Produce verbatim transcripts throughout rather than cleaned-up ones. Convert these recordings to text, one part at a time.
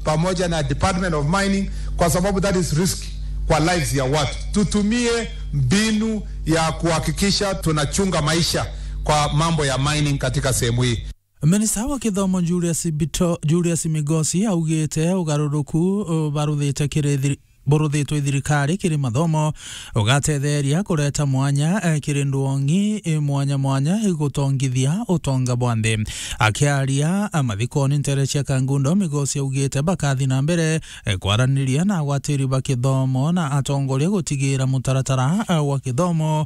pamoja na Department of Mining, kwa sababu that is risk kwa lives ya watu. Tutumie mbinu ya kuhakikisha tunachunga maisha kwa mambo ya mining katika sehemu hii. Minista wa kithomo Julius Bito-, Julius Migosi augite ugaruruku, uh, baruthite kiri thiri-, buruthitwe thirikari kiri mathomo ugatetheria kureta mwanya, eh, kiri ndwong'i, eh, mwanya mwanya igutongithia utonga bwa nthi. Akiaria, ah, mathikoni ntere cia Kangundo, Migosi augite bakathi na mbere, eh, kwaraniria na agwatiri ba kithomo na atongoria gutigira mutaratara, ah, wa kithomo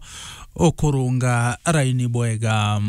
ukurunga raini bwega.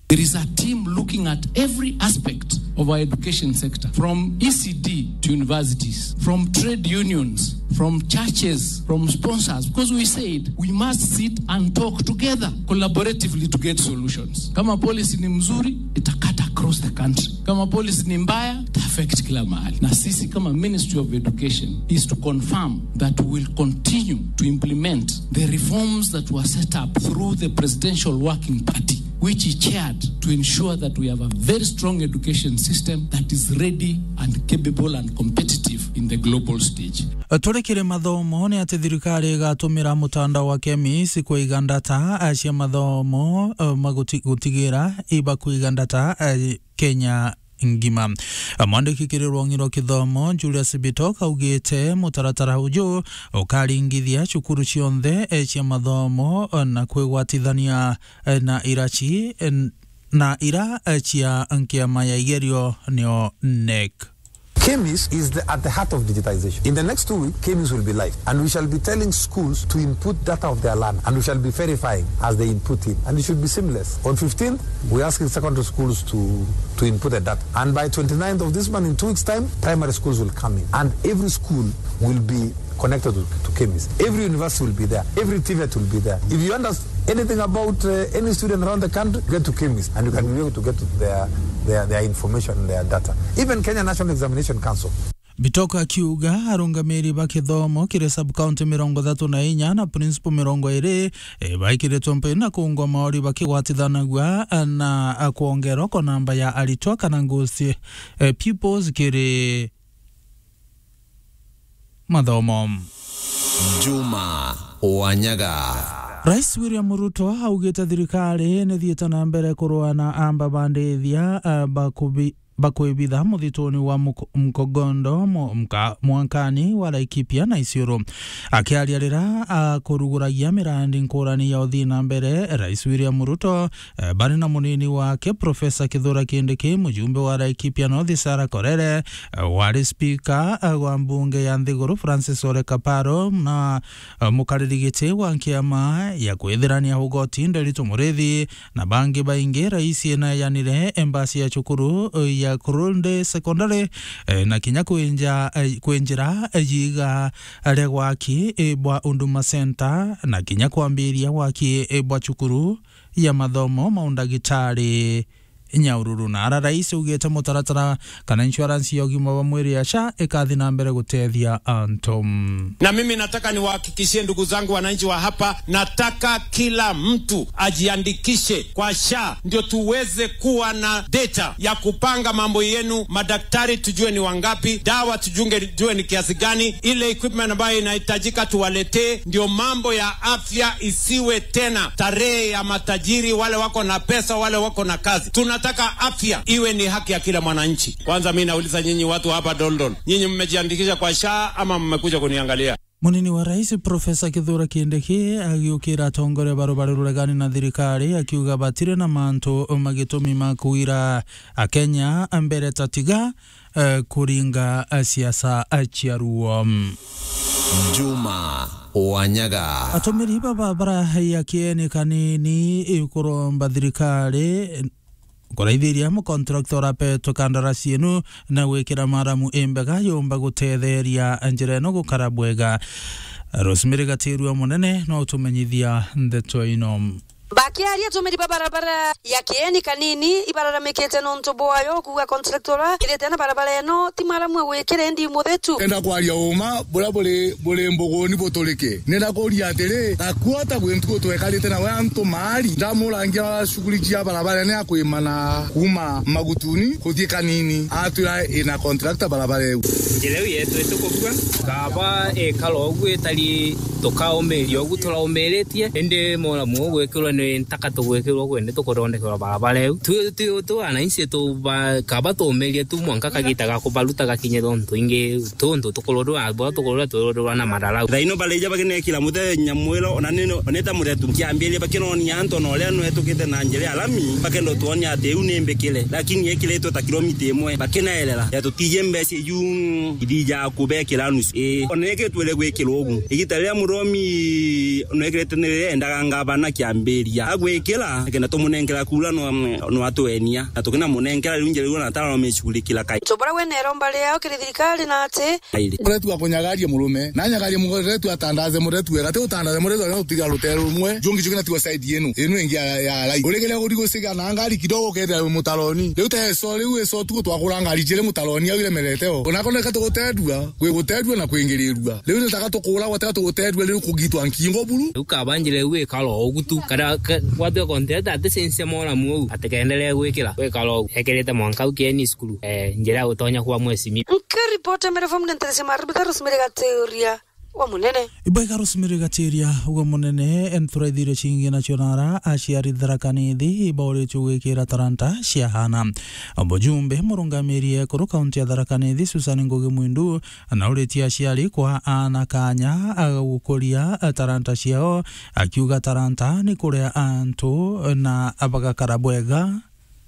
There is a team looking at every aspect of our education sector, from E C D to universities, from trade unions, from churches, from sponsors, because we said we must sit and talk together collaboratively to get solutions. Kama policy ni mzuri, ita cut across the country. Kama policy ni mbaya, ita affect kila mahali. Na sisi kama Ministry of Education is to confirm that we will continue to implement the reforms that were set up through the Presidential Working Party, which he chaired, to ensure that we have a very strong education system that is ready and capable and competitive in the global stage. Turi kiri mathomo, ni ati thirikari igatumira mutandao wa KEMIS kuiga ndata, eh, cia mathomo, eh, maguti-, gutigira iba kuiga ndata, eh, Kenya ngima. Mwandiki kiri rwong'i rwa kithomo, Julius Bitok, augite mutaratara uju ukaringithia cukuru cionthe, eh, cia mathomo, eh, na kwigwatithania, eh, na iraci, eh, na ira, eh, cia nkiama ya igerio, nio NEC. KEMIS is the, at the heart of digitization. In the next two weeks, KEMIS will be live, and we shall be telling schools to input data of their learner, and we shall be verifying as they input in, and it should be seamless. On fifteenth, we're asking secondary schools to, to input the data, and by twenty-ninth of this month, in two weeks' time, primary schools will come in, and every school will be connected to, to KEMIS. Every university will be there. Every TVET will be there. If you understand anything about, uh, any student around the country, get to KEMIS, and you can be able to get to their, their, their information, their data. Even Kenya National Examination Council. Bitok akiuga arungamiri ba kithomo kiri sub-county mirongo ithatu na inya na principal mirongo iri, eh, baikiritwe mpini na kuungwa maori bakigwatithanagua, eh, na, eh, kwongerwa kwa namba ya aritwa kana ghost, eh, pupils kiri mathomo. Juma Wanyaga. Rais William Ruto augite thirikari nithiite na mbere kurua na amba bandithia, eh, bakubi-, bakwibitha muthituni wa Muko-, Mkogondo, mu-, mka-, mwankani wa Laikipia na Isiolo. Akiaria rira akuruguragia mirandi nkurani ya uthii na mbere, Rais William Ruto, eh, bari na munini wake, Professor Kithure Kindiki, mujumbe wa Laikipia North, Sarah Korere, eh, wari speaker, eh, wa mbunge ya nthiguru, Francis Ole Kaparo, na, eh, mukariri giti wa nkiama ya kwithirania ugoti, Nderitu Murithi, na bangi baingi. Rais eneyanire embasi ya cukuru, eh, ya Kurunde Secondary, eh, na kinya kwinja, eh, kwinjira, eh, yiga ria gwaki, eh, bwa Huduma Center, na kinya kwambiria gwaki, eh, bwa cukuru ya mathomo ma undagitari Nyahururu. Na ara rais augite mutaratara kana insurance ya ugima wa mwiri ya SHA ikathi na mbere gutethia antu. Na mimi nataka niwahakikishie ndugu zangu wananchi wa hapa, nataka kila mtu ajiandikishe kwa SHA ndio tuweze kuwa na data ya kupanga mambo yenu, madaktari tujue ni wangapi, dawa tujunge-, tujue ni kiasi gani, ile equipment ambayo inahitajika tuwaletee, ndio mambo ya afya isiwe tena tarehe ya matajiri, wale wako na pesa, wale wako na kazi. Tunataka afya iwe ni haki ya kila mwananchi. Kwanza mimi nauliza nyinyi watu hapa Doldol, nyinyi mmejiandikisha kwa SHA ama mmekuja kuniangalia? Munini wa rais, Professor Kithure Kindiki, agiukira atongoria ba rubari ruregani na thirikari, akiuga batiri na mantu ma gitumi ma kuira Akenya mbere ta tiga, eh, kuringa, eh, siasa, eh, cia ruo. Juma Wanyaga. Atumiri baba barahaiya kieni kanini, eh, kuromba thirikari, eh, kuraithiria mukontrakta urapetwe kandarasi inu na gwikira maramu imbega yumba gutetheria njira ino gukara bwega. Rosemary Gatirua Munene no utumenyithia ndeto ino. Bakiaria atumiri ba barabara ya Kieni Kanini ibararamikite nontu bwayo kuuga contractor ura kirite na barabara eno ti maramu gwikira indi muthetu. Enda kwaria uma buria buri, buri mbuguni buturike. Nenda kuria atiri, gakuota gwi ntuku twekarite nawe antu maari, ndamurangia shughuli cia barabara ni akwimana kuuma Magutuni kuthii Kanini, atwira ina contractor barabara iu. Njira iu yetu itukubua, kaba ikara ugu itari tukaumiria ugu turaumiritie, indi muramu ugwikirwa ni ntaka tugwikirwa ugu indi tukuthondekerwa barabara iu. Tu, tu, tu wananchi tu ba, kaba tuumirie tu mwanka kagita ga kubaruta gakinye tontu ingi tuntu tukururwa, bwa tukururwa twirurwa na mararau. Thaino barija bakinekira muthenya mwiro, ona ni, ona ita muthetu kiambiria bakinonia antu ona uria nwetukite na njira ya lami, bakenda tuonia ati iu ni mbikire, lakini ikiritwe ta kilomita imwe, bakinaerera. Ya tutiji mbeca iu ithija kubekira nusu. Ii, ona iki twire gwikirwa ugu. Igita riria muromi nwekirite ni riria endaga ngavana kiambiria agwikira, akenda tumunenkera kura no, no atwenia. Na tukinamunenkera riu njira iu na tara no micugurikira kai. Tubura we neromba riao kiri thirikari na ati Airi. Uretua kunyagaria murume, na anyagaria muretu atandaze muretu wega, ti utandaze muretu aria utiga rutere rumwe, jungi jungi natigwa side yenu, inu ingi ya, ya rai. Uregeria guri guciga na ngari kidogo ukethira wi mutaroni. Riu ta eso, riu eso tuku twakura ngari jiri mutaroni au iremerete o. Onako neka tugutedua, kwi gutedua na kwingirirua. Riu nitaka tukura gwatega tugutedua, riu kugitwa nkingo buru. Riu kaba njira iu ikara o ugu tu, kana ka-, gwatwe konteta ati censia moramu uu, ati kaendelee gwikira, gwikara o ugu. Ekirite mwanka au kieni cukuru, eh, njira ya gutonya kwa mwesimia. Nkiripota Meru F M ni nteresi Maribita Rosemary Gaturia wa Munene. Ibwega Rosemary Gaturia wa Munene, enturaithirio cingi nacio nara aciari Tharaka Nithi ibauritue gwikira taranta cia hana. Mujumbe murungamiri ekuru kaunti ya Tharaka Nithi Susan Ngugi Mwindu nauritie aciari kwa aana kanya ga gukuria taranta ciao, akiuga taranta ni kuria antu na bagakara bwega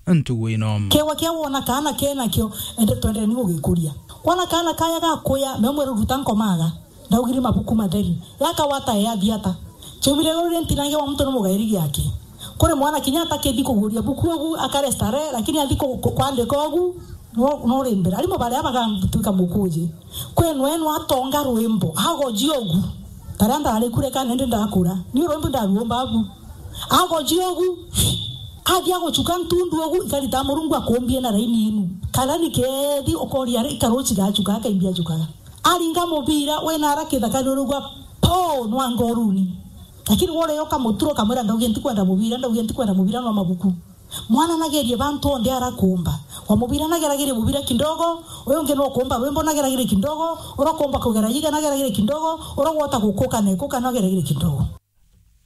ntugu ino. Kewa kia wona kaana kenakio, ende twendere ni gugikuria. Wona kaana kaya gakuya, me mwere ruta nkomaga, ndaugire mabuku matheri. Yakawata e athiata. Chaumire ruri ntinange wa muntu ni mugairi giake. Kuri mwana kinya atakithi kuguria buku ugu, akare starehe, lakini athi ku-, ku-, kwandika ugu, no, no rimbira. Arimu baria bagatuika mukuji. Kwenu enu atonga rwimbo, agoji ugu. Taria ndari kure kana ndi ndakura. Ni rwimbo ndaruomba abu. Agoji ugu. Athi aguchuka ntundu ugu, ikarita Murungu akumbie na raini inu. Kana ni kethi ukoria ari ikaruchi gachuka, akaimbia achukaga. Aringa mubira, wena ara kithaka ni urugwa, po, nwanga uruni. Lakini wore yo kamuturo kamwira, ndauge ntikwenda mubira, ndauge ntikwenda mubira, no mabuku. Mwana nagerie bantu onthe arakumba. Wa mubira nageragire mubira kidogo, uyu ungi no kumba rwimbo nageragire kidogo, ura kumba kugera yiga nageragire kidogo, ura gwota gukuka na ikuka nageragire kidogo.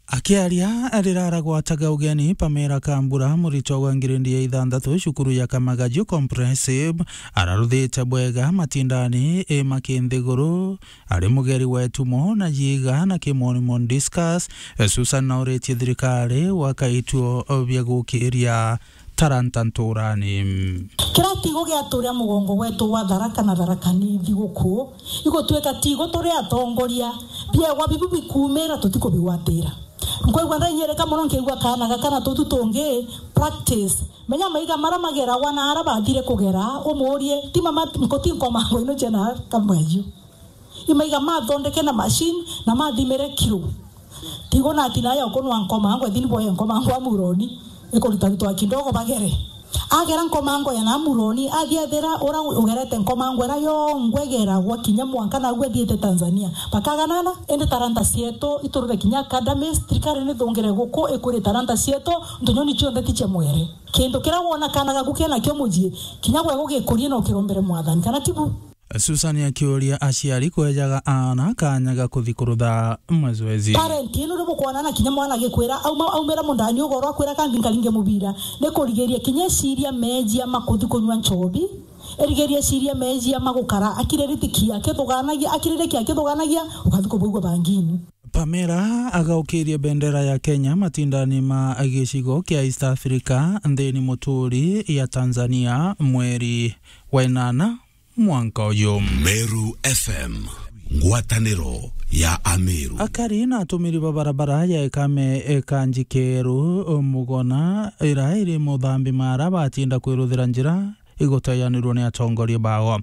Akiaria rira aragwataga ugeni, Pamela Kambura, muritwa wa ngiredi ya ithanthatu cukuru ya Kamagaju Comprehensive, araruthite bwega matindani i makinthiguru, ari mugeri wa itumo na yiga na kimonimoni discus. Susan nauritie thirikari gwaka ituo bia gukiria taranta nturani. Kira tigo giaturia mugongo gwetu gwa Tharaka na Tharaka Nithi guku, igutwika tigo turi atongoria, biegwa bibu bikumira tutikubigwatira. Nkwigua ndainyereka mono nkigua kaana gaka na tutu tungi practice. Menya maiga mara mageragwa na ara bathire kugera, umurie, ti mama, nkuti nkomango ino ciana kamaju. Imaiga mathondeke na machine na mathimire kiro. Tigo na atina ya ukunwa nkomango, ethini boye nkomango amuroni, ikurita ritwa kidogo bagere. Agera nkomango ya na amuroni, athi ethira ura ugerete nkomango era yongwe geragwa kinya mwanka nagu athiite Tanzania. Bakaganana, indi taranta cietu iturire kinya academies, thirikari ni thungire guku ikuri taranta cietu, ntunyoni cionthe ti cia mwere. Kindu kiria wona kana gaku kena kio mucii, kinya gwe gugikurie no kirombere Mwathani, kana tibu? Susan akiuria aciari kwejaga aana kanya ga kuthi kurutha mazoezi. Parent, ino ni bukwona na kinya mwana agikwira, auma, aumira mundani ugoro akwira, "Kambi nkaringe mubira." Ni kurigiria kinya eciria mejia ma kuthi kunywa nchobi, erigiria eciria mejia ma gukara akiririkia akithuganagia, akiririkia akithuganagia, ukathi kubugua bangini. Pamela agaukirie bendera ya Kenya matindani ma gicigo kia East Africa nthini muturi ya Tanzania mweri wa inana mwanka uyu. Meru F M, ngwataniro ya Ameru. Akari na atumiri ba barabara ya Ekame Ekanji Keru Mugona ira iri Muthambi Mara batinda kwiruthira njira iguteyanirwo ni atongoria bao.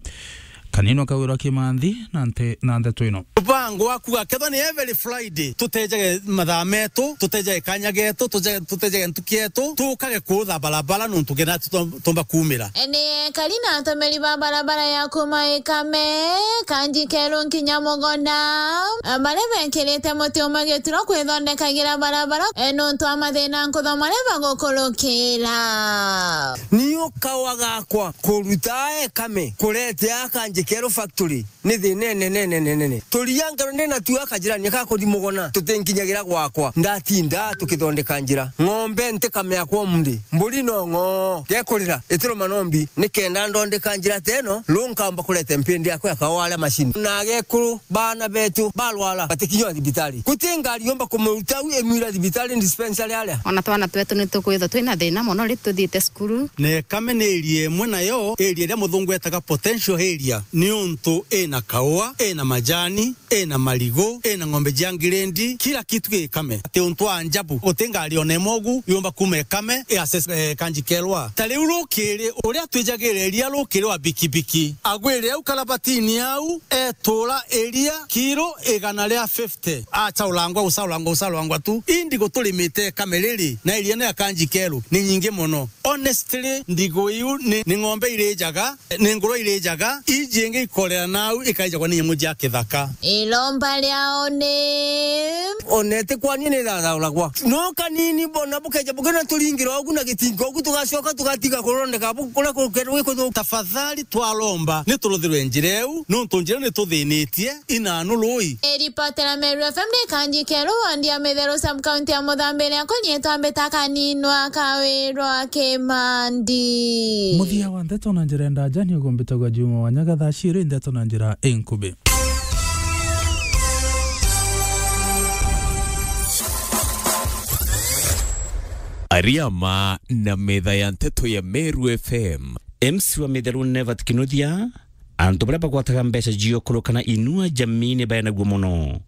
Kanini Kawira Kimanthi na nte-, na ndeto ino. Mubango waku akethwa ni every Friday, tutejage mathaa metu, tutejage kanya getu, tuje-, tutejage ntuki yetu, tukage kuutha barabara nontu kenda tu-, tumba kuumira. Ni ekari na atumiri ba barabara ya kuuma Ikame, Kanji Keru nkinya Mugona, baria bekirite muti umwe gituro kwithondekagira barabara, e, nontu wa mathina nkuthoma maria bagukurukira. Ni ukawa gakwa kuruta Ikame, kurete a Kanji Keru factory. Ni thina inene, nene, nene. Turia ngero ndina tu akajirani ka kuthi Mugona, tutinkinyagira gwakwa. Ndatinda tukithondeka njira. Ng'ombe ntikame yakwa umuthi. Mburi no ng'oo. Gekurira, itiruma nombi. Nikenda ndondeka njira teno, lu nkamba kurete mpindi yakwa ya kawaria macini. Na gekuru, bana betu, barwara, batikinywa thibitari. Guti ngari yomba kumuruta u imwira thibitari dispensary aria. Ona twana twetu ni tukwithwa twina thina mono ri tuthiite cukuru. Na Ikame ni area imwe nayo, area iria muthungu etaga potential area, niuntu ina kaua, ina majani, ina marigu, ina ng'ombe cia ngirendi, kila kitu gi Ikame. Ati untu wa ajabu, guti ngari ona imwe ugu yumba kuuma Ikame i access, eh, Kanji Keru. Ta riu rukiri, uria twijagire iria rukiri wa bikibiki, agwire au karabatini au, etura iria kiro igana ria fifty. Acha ulangwa, usa ulangwa, usa ulangwa tu. Indi guturimite Ikame riri, na area ino ya Kanji Keru ni nyingi mono. Honestly, ndigu iu ni, ni ng'ombe irijaga, ni ngurwe irijaga, iji ingi ikorera nau ikaijagwa ni nyamu cia kithaka. Iromba riao ni. Ona iti kwani ni thathauragwa. No kanini bona bukeja bukena turingira ugu na gitingo ugu tugacoka tugatiga kurondeka bu-, kuria kukerwe kuthu. Tafadhali twaromba ni turuthirwe njira iu, nontu njira ni tuthinitie. Inanu rui. Iripotera Meru F M ni Kanji Keru, wandi ya Mitheru, sub-county ya Muthambiria, kunyitwa mbita Kaninwa Kawirwa Kimandi. Muthia wa ndeto na njira ya ndaja ni ugumbitagwa Juma wa Nyaga thaa ciiri ndeto na njira inkubi. Ariama na metha ya nteto ya Meru F M. M C wa Mitheru Nevat Kinuthia. Antu baria bagwataga mbeca cio kurukana inua jamii ni baenagua mono.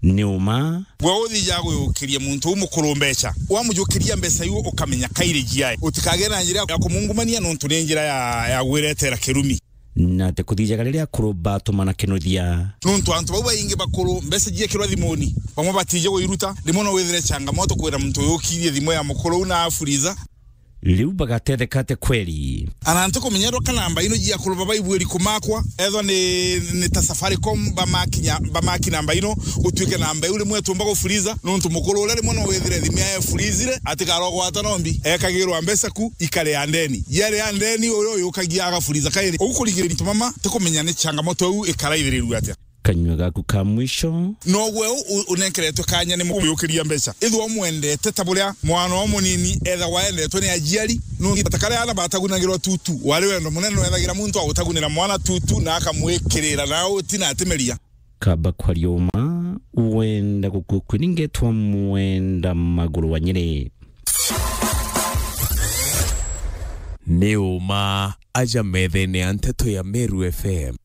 Ni uma. Gwe uthijaga guyukiria muntu u mukuru mbeca, wamujukiria mbeca iu ukamenya kairi jiae. Utikagere na njira ya kumungumania nontu ni njira ya, ya gwiretera kirumi. Na ti kuthijaga riria akuru batumana Kinuthia. Nontu antu bau baingi bakuru mbeca jiekirwa thimuni, bamwe batije guiruta, rimwe no withire changamoto kwira muntu uyukirie thimu ya mukuru u na afuriza. Riu bagatetheka atia kweri? Ana ntikumenya ethwa ka namba ino jia kuruba baibwiri kumakwa, ethwa ni, ni ta Safaricom bamakinya, bamaki namba ino, gutuike namba iu rimwe tumba gufuriza, nontu mukuru uria rimwe no withire thimu yae efuriizire, atikarogwata nombi, ekagirwa mbeca ku, ikare ya ndeni. Yari ya ndeni, uyu yukagia agafuriza kairi. Ugu kurigiriria tumama, tikumenya ni changamoto iu ikaraithirirua atia. Kanyua gaku ka mwisho. Nogwe u-, u-, unenkeretwe kanya ni mukuyukiria mbeca. Ithwa umwendete ta buria mwana o munini ethagwa endetwe ni ajiari. Nungi ta karia ana batagunagirwa tutu, wari wendo munene wethagira muntu agutagunira mwana tutu na akamwikirira na uti na atimeria. Kaba kwaria uma, wenda gukua kwiningetwa mwenda maguru wa Nyeri. Ni uma aja methene ya nteto ya Meru F M.